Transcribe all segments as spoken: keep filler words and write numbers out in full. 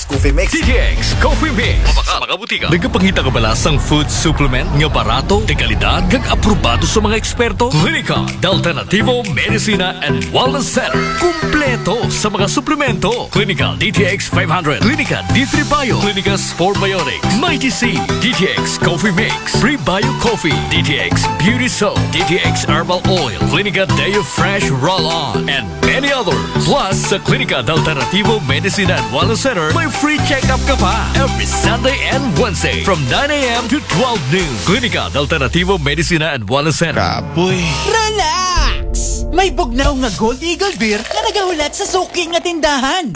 Coffee Mix. D T X Coffee Mix. Sa mga butika. Nagapangita ka ba sa food supplement nga barato, de kalidad, kag aprobado sa mga eksperto? Klinika de Alternativo Medicina and Wellness Center. Kumpleto sa mga suplemento. Klinika D T X five hundred, Klinika D three Bio, Klinika Spore Biotics, Mighty C, D T X Coffee Mix, Prebio Coffee, D T X Beauty Soap, D T X Herbal Oil, Klinika Deo Fresh Roll-On, and many others. Plus, sa Klinika de Alternativo Medicina and Wellness Center, may free check-up ka pa every Sunday and Wednesday from nine a.m. to twelve noon. Klinika de Alternativo Medicina and Wellness Center. Kapoy. Relax! May bugnaw nga Gold Eagle Beer nga nagahulat sa suki nga tindahan.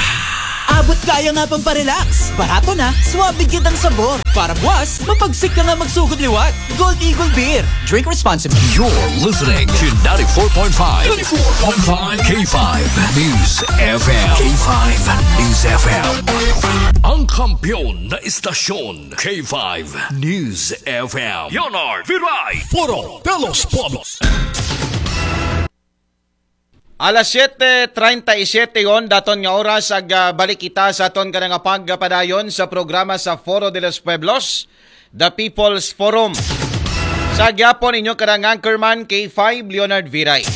Abot kaya nga pang parelax. Barato na, suabe kitang sabor. Para buwas, mapagsik ka nga magsugod liwat. Gold Eagle Beer. Drink responsibly. You're listening to ninety-four point five, ninety-four point five K five News F M. K five News F M. Ang kampiyon na istasyon, K five News F M. Leonard Viray. Foro de los Pueblos. Alas siyete treinta y siete yon, daton nga oras ag ah, balik kita sa aton kada nga pagpadayon sa programa sa Foro de los Pueblos, The People's Forum. Sa gyapon inyo kada nga anchorman K five Leonard Viray.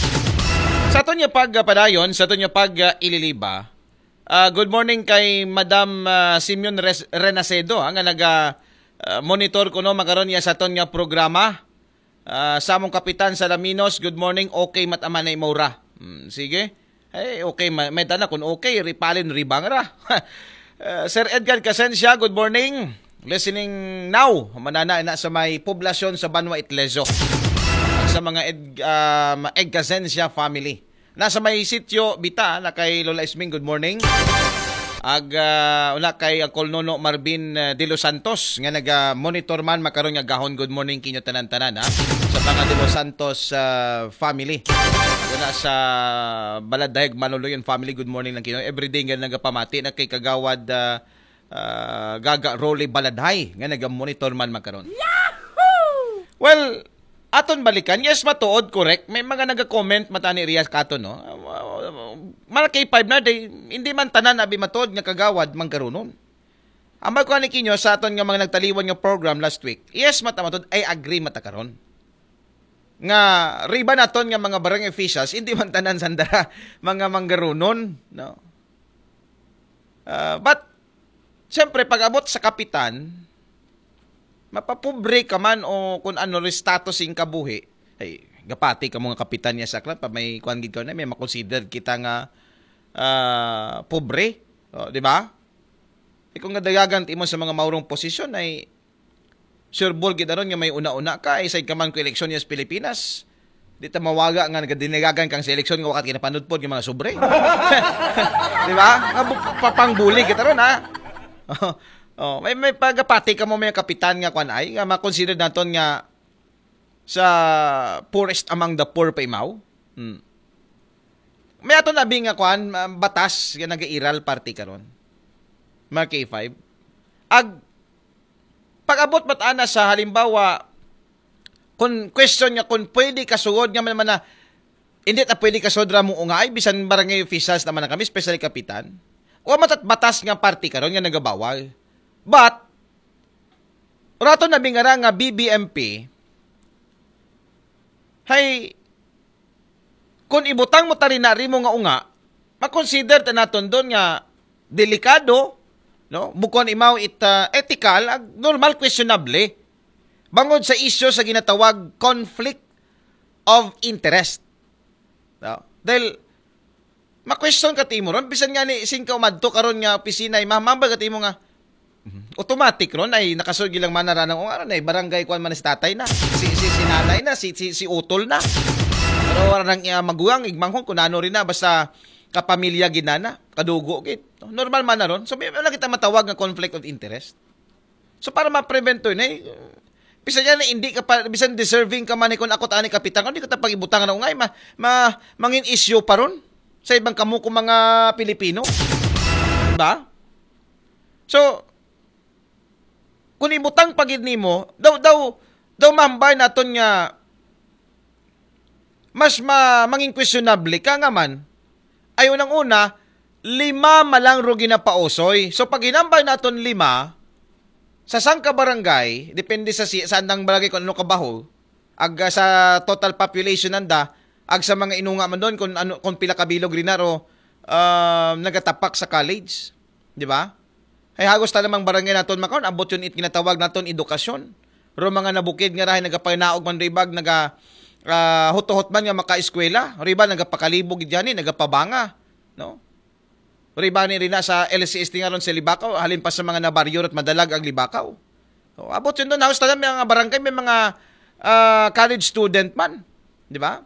Sa aton nga pagpadayon, sa aton nga pag ah, ililiba. Ah, good morning kay Madam ah, Simeon Res- Renacedo ah, nga naga ah, monitor kuno makaron niya sa aton nga programa. Ah, sa among kapitan sa Laminos, good morning. Okay, mataman na Maura. Hmm, sige. Eh, okay, ma- may tana kung okay, ripalin ribang ra. Ah, Sir Edgar Casencia, good morning. Listening now. Manana na sa may poblasyon sa Banwa Itlesio. At sa mga Ed, ah, ma- Ed Casencia family. Nasa may sitio, Bita, na kay Lola Isming, good morning. Ag ah, una kay Uncle Nono Marvin ah, De Los Santos nga naga-monitor man makaron nga gahon, good morning kinyo tanan-tanan ha. Sa mga De Los Santos ah, family. Una sa Baladayag Manuluyan family, good morning lang kinyo. Everyday nga nagapamati na kay Kagawad ah, ah, Gaga Rolly Baladhay nga naga-monitor man makaron. Well, aton balikan, yes, matuod, correct. May mga naga-comment matani riya kato, no? Malakay five na, day, hindi man tanan abi matuod nga kagawad manggarunon. Ambay ko ani kinyo sa aton nga mga nagtaliwan nga program last week. Yes, mata matuod, I agree mata karon. Nga riba naton nga mga barangay officials, hindi man tanan sandara mga manggarunon, no? Ah, but siyempre pag abot sa kapitan, mapapobre ka man o kung ano ri status ing kabuhi, ay, gapati ka mo nga kapitan niya sa klan, pa may kuan gid ka na, may makonsider kita nga ah, pobre, oh, di ba? E kung nadagagan ti mo sa mga maurong posisyon ay sureball gid aron nga may una-una ka, ay side ka man ko eleksyon niya sa Pilipinas. Di ta mawaga nga nagadinagagan kang sa eleksyon nga wakat kinapanudpod nga mga sobre. Di ba? Nga bu- papangbuli kita ron, ha? Oh, may may pagapati ka mo may kapitan nga kwan ay nga makonsider naton nga sa poorest among the poor pa imaw. Hmm. May ato na abi nga kwan, ah, batas nga nagairal parte karon. Mga K five. Ag pag-abot mat ana sa halimbawa kung question nga kung pwede ka sugod nga man man na hindi ta pwede ka sugod ra mo nga ay bisan barangay officials naman na kami, especially kapitan. Wa matat batas nga parte karon nga nagabawal. But rato na bingara nga B B M P, hay, kung ibutang mo tari na rimo nga unga, makonsider ta naton doon nga delikado, no? Bukon imaw it ah, ethical, ag normal questionable. Bangod sa isyu sa ginatawag conflict of interest. No? Dahil ma-question ka timo ron, bisan nga ni singka umadto karon nga opisina, ay mamambal ka timo nga automatic ron ay nakasugi lang man na ranang o ano na barangay kuan man si tatay na, si si, si nanay na, si, si si utol na. Pero wala nang iya maguwang igmanghon kung ano rin na, basta kapamilya gid na na, kadugo gid. Normal man na ron. So may wala kita matawag nga conflict of interest. So para ma-prevent to yun, eh, bisan yan, eh, hindi ka pa, bisan deserving ka man, eh, kung ako tani kapitan, hindi ka ta pag-ibutang na ungay, ma, ma, mangin issue pa ron sa ibang kamo kung mga Pilipino. Diba? So, kung ibutang pa gid nimo, daw, daw, daw mahambay naton nga mas ma, mangin questionable ka nga man, ay unang-una, Lima malang ro ginapausoy. So, pag hinambal naton lima, sa sangka barangay, depende sa si-, sa andang barangay kung ano kabaho, ag, ah, sa total population nanda, ag sa mga inunga man doon kung ano, kung pila ka bilog rin na ro, ah, nagatapak sa college. Di ba? Ay hagos ta namang barangay naton makaon, abot yun it ginatawag naton edukasyon. Ro mga nabukid nga rahay nagapanaog man ribag, naga, ah, huto-hot man nga makaeskwela, riba nagapakalibog dyan eh, nagapabanga, no? Riba ni rina sa L C S T nga ron sa Libakaw, halin pa sa mga nabaryo at madalag ang Libakaw. So, abot yun doon, halos talaga may mga barangay, may mga, ah, college student man. Di ba?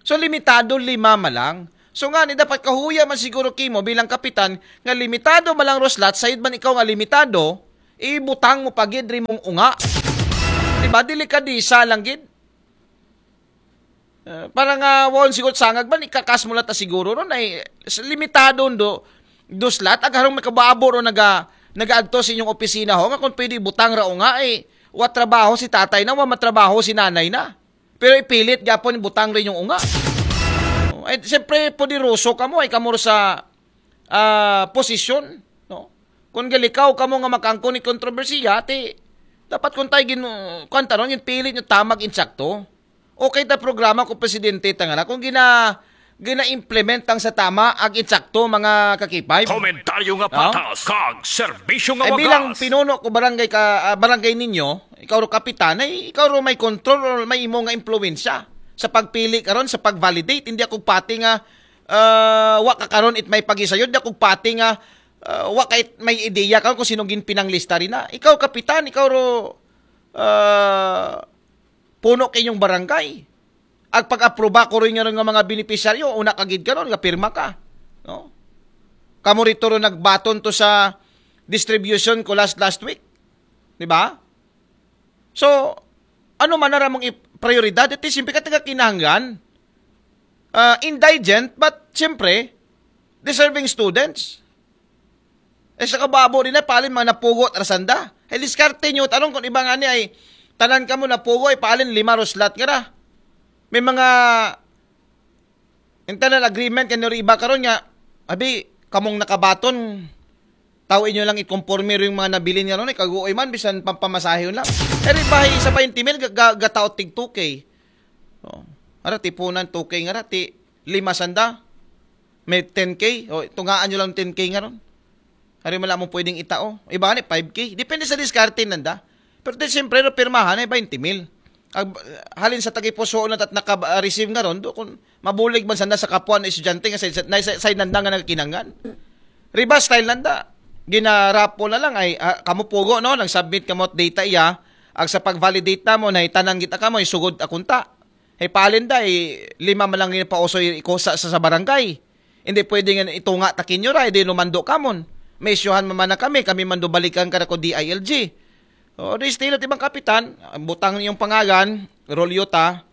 So, limitado lima man lang. So, nga ni dapat kahuya man siguro kimo bilang kapitan nga limitado man lang ro slot, sayod man ikaw nga limitado, ibutang mo pagid ri mong unga. Di ba? Delikadisa lang gid. Eh, para nga won siguro sangag man, ikakas mo lang ta siguro ron ay s-, limitado do, do slot, ag harong may kababo ron naga, nagaadto sa inyong opisina ho, nga kung pwede butang ra o nga, eh, wa trabaho si tatay na, wa matrabaho si nanay na. Pero ipilit gapon butang rin yung unga. Oh, ay, siyempre, poderoso kamo, ay kamo sa, ah, posisyon, no? Kung galikaw kamo nga makangkon ni kontrobersiya, ti, dapat kung tayo gin-, kwan ta ron, yung pilit nyo tamag insakto. Okay ta programa ko presidente ta nga na. Kung gina, gina-implement ang sa tama, ag insakto, mga kakipay. Komentaryo nga No? patas, kag serbisyo nga Ay, bilang wagas. pinuno ko barangay ka, ah, barangay ninyo, ikaw ro kapitan, ay ikaw ro may control or may imo nga impluwensya sa pagpili karon, sa pag-validate. Hindi ako pati nga, ah, wa ka karon it may pagisayod, di ako pati nga, ah, wa ka it may ideya karon kung sino ginpinanglista rin na. Ikaw kapitan, ikaw ro, ah, puno kay inyong barangay. Ag pag-aproba ko rin nga, nga mga beneficiaryo, una ka gid karon nga pirma ka, no? Kamo rito ro nagbaton to sa distribution ko last, last week. Di ba? So, ano man na ramong i-, prioridad? Ito simple ka taga kinahanglan. Ah, indigent, but siyempre, deserving students. Eh, sa kababo din na, palin mga napugot, rasanda. Eh, diskarte nyo, tanong kung iba nga ni ay, tanan ka mo napugo, ay palin lima ro slot nga ra. May mga internal agreement kanyo ri iba karon nga, abi, kamong nakabaton, tao inyo lang ikonforme rin mga nabilin nga ron, eh, kaguoy man, bisan pampamasahe yun lang. Eh, rin ba, isa pa yung timil, ga-, ga-, gataot tig two K. Oh. Ara, tipunan, two K nga ra, ti, lima sanda. May ten K. O, tungaan nyo lang ten K nga ron. Hari mo lang mong pwedeng itao. Iba ni five K. Depende sa diskarte nanda. Pero di siyempre, no, pirmahan ay twenty mil. Ag-, halin sa tagipuso na at naka-receive nga ron, do, kung mabulig man sana sa kapwa na estudyante nga sa, sa, sa, sa nanda nga nagkinangan. Riba style nanda. Ginarapo na lang ay, ah, kamo pugo, no? Nag-submit kamo at data iya. Ag sa pag-validate na mo, na itanan kita kamo, isugod akunta. Hey, palin da, eh, lima man lang yung pauso yung ikosa sa, sa barangay. Hindi pwede nga itunga takin nyo ra, hindi lumando kamon. May isyuhan man na kami, kami mando balikan ka na ko D I L G. O, di estilo ti bang kapitan, butang yung pangalan, Rolyo ta,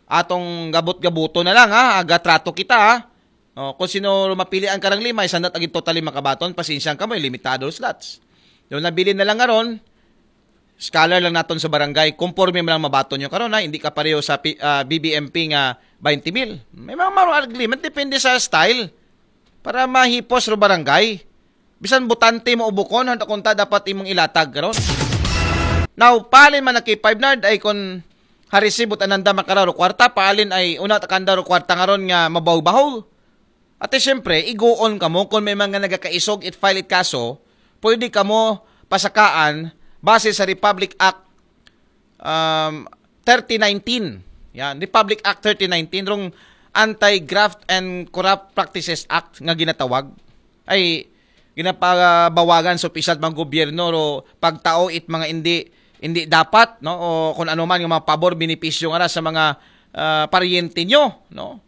atong gabot-gabuto na lang ha, agatrato kita ha. O, kung sino mapilian ka ng lima, isang dat agad totally makabaton, pasensya ka mo, limitado slots. Yung nabilin na lang nga ron, scholar lang naton sa barangay, conforme mo lang mabaton nyo karon ha, hindi ka pareho sa P-, ah, B B M P nga twenty mil. May mga marong agreement, depende sa style. Para mahipos ro barangay. Bisan botante mo o bukon, handa kunta dapat imong ilatag karon. Now, palin man naki five nard ay kon harisibot ananda makararo kwarta, palin ay una takanda ro kwarta ngaron nga mabaw-bahaw. Ate, siyempre, igoon kamo kung may mga nagakaisog, it file it kaso, pwede kamo pasakaan base sa Republic Act, um, thirty nineteen. Yan, Republic Act thirty nineteen, rong Anti-Graft and Corrupt Practices Act nga ginatawag. Ay, ginapabawagan sa opisyal mga gobyerno, ro pagtao it mga hindi, hindi dapat, no? O kung ano man yung mga pabor, benepisyo nga ra sa mga, ah, paryente nyo, no?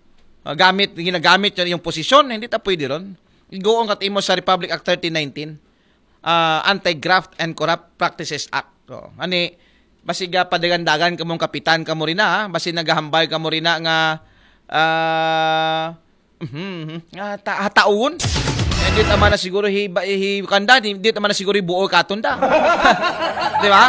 Ah, gamit, ginagamit nyo yung posisyon, hindi ta pwede ron. Igoon kat imo sa Republic Act thirty nineteen, ah, Anti-Graft and Corrupt Practices Act. So, ani, basig, ah, padagandagan kamong kapitan kamo rin na, ha? Basig naghahambal kamo rin na nga, ah, mhm, mhm, nga ta-, hataon. Eh, di tama na siguro hi, ba-, hi, kanda, di, di tama na siguro buo katon da. Di ba?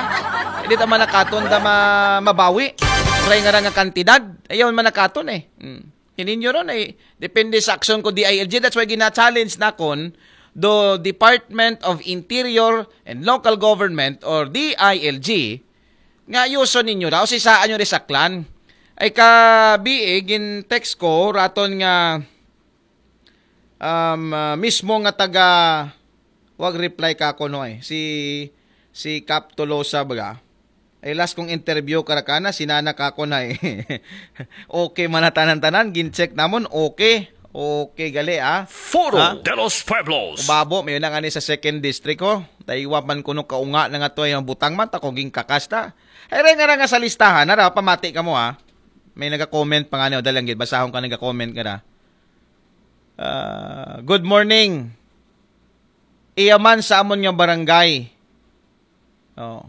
Di tama na katon da ma-, mabawi. Ray nga ra nga kantidad. Ayaw man na katon eh. Hmm. Ininyo ron ay depende sa aksyon ko D I L G. That's why gina-challenge nakon do Department of Interior and Local Government or D I L G nga ayuson ninyo raw si saan nyo risaklan. Ay ka B A gin text ko raton nga um, ah, mismo nga taga wag reply ka ko no eh. Si si Cap Tolosa baga. Ay last kong interview karakana sinana ka ko na eh. Okay man na tanan-tanan gin-check namon okay. Okay gali ah. Foro Ha? de los Pueblos. Ubabo, may na nga ni sa second district ko. Taiwa man kuno kaunga na nga to yung butang man, tako ging kakasta. Ay, re nga ra nga sa listahan, nara, pamati ka mo ha. May naga-comment pa nga niyo, dahil ang basahon ka naga-comment nga ra. Ah, good morning. Iyaman sa amon nga barangay. Oh.